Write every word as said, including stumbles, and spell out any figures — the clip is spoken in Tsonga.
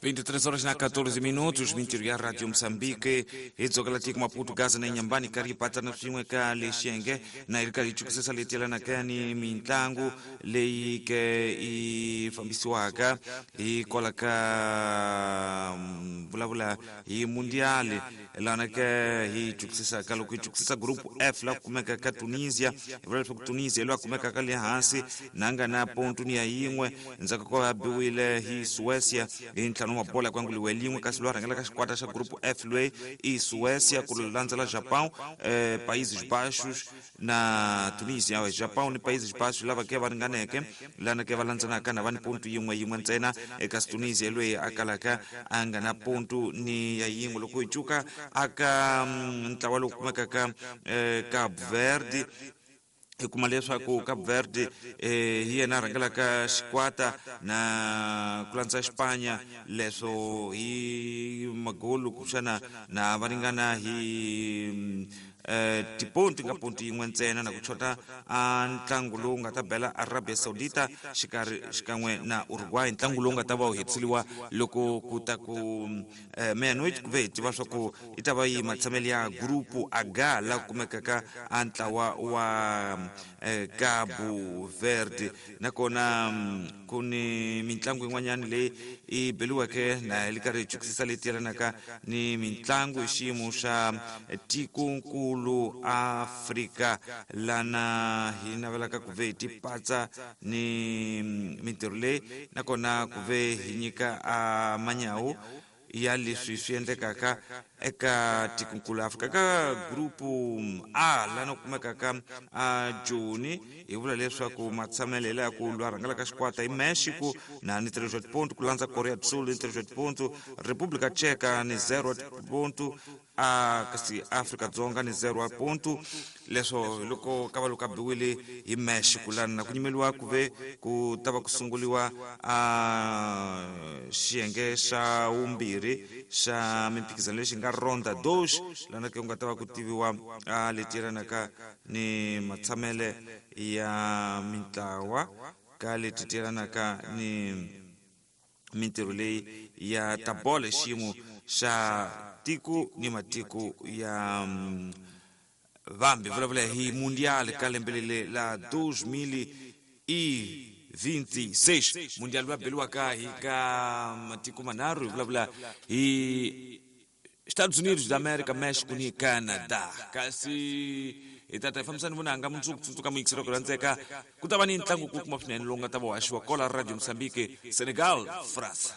vinte e três horas na quatorze minutos, mintirho ya Radio Moçambique, hi dzokela tiko Maputo, Gaza na Inhambane, karhi patsana swin'we ka lexiyenge na hi ri karhi hi chukisisa leti yelanaka ni mitlangu leyi ke yi fambisiwaka hi kwala ka vulavula hi mundial lana ke hi chukisisaka loko hi chukisisa group F la kumeka ka Tunisia, hi vula leswaku Tunisia loyi a kumekaka le hansi na nga na ponto ni ya yin'we ndzhaku ko a biwile hi Suécia hi ntlhanu wa bola ku anguliwe lin'we, kasi loyi a rhangelaka xikwata xa group F loyi i Suécia ku landzela Japão, eh, Países Baixos na Tunisia. Japão ni Países Baixos lava ke va ringaneke lana ke va landzenaka na va ni ponto yin'we yin'we ntsena, kasi Tunisia loyi a kalaka a nga na ponto ni ya yin'we. Loko hi cuka aka ntlawa lowu kumekaka eh, Cabo Verde, hi kuma leswaku Cabo Verde eh, hi yena a rhangelaka xikwata na ku landza Xipanya, leswo hi magolu kuxana na va ringana hi eh, tiponti nga ponti yin'we ntsena na ku chota a ntlangu lowu nga ta bela Arabia Saudita xikarhi xikan'we na Uruguay, ntlangu lowu nga ta va wu hetiseliwa loko ku ta ku eh, meia-noite, ku ve hi tiva swa ku yi ta va yi matshamelo ya grupu H la kumekaka a ntlawa wa eh, Cabo Verde. Nakona ku ni mitlangu yin'wanyana leyi yi beliweke na hi li karhi hi chukisisa leti yelanaka ni mitlangu hi xiyimo xa tikonkulu Afrika lana hi navelaka ku ve hi tipatsa ni mintirho leyi, nakona ku ve hi nyika a manyawu ya leswi swi endlekaka eka tikonkulu Afrika. Ka grupu A lana ku kumekaka a Joni, hi vula leswaku matshamelo ya ku lwa rhangelaka xikwata hi Mexico na ni três ponto, ku landza Korea do Sul ni três ponto, República Tcheca ni zero ponto, a kasi Afrika Dzonga ni zero ponto. Leswo loko ka va loko a biwile hi Mexico lana na ku nyimeliwa ku ve ku ta va ku sunguliwa a xiyenge xa vumbirhi xa mimphikizano lexi nga ronda dos lana ke ku nga ta va ku tiviwa a leti yelanaka ni matshamele ya mintlawa ka leti ti yelanaka ni mintirho leyi ya ta bolo hi xiyimo xa tiko ni matiko ya vambi. Vulavula hi mundial ka lembe lele la dois mil e vinte e seis, mundial lowu beliwaka hi ka matiko manharhu, hi vulavula hi Estados Unidos da América, México ni Canadá. Kasi hi tata hi fambisani vunanga mundzuku tsundzuka muyingiseri ku rhandzeka ku ta va ni ntlangu kulukumba swinene lowu nga ta va haxiwa kola Radio Moçambique, Senegal, France.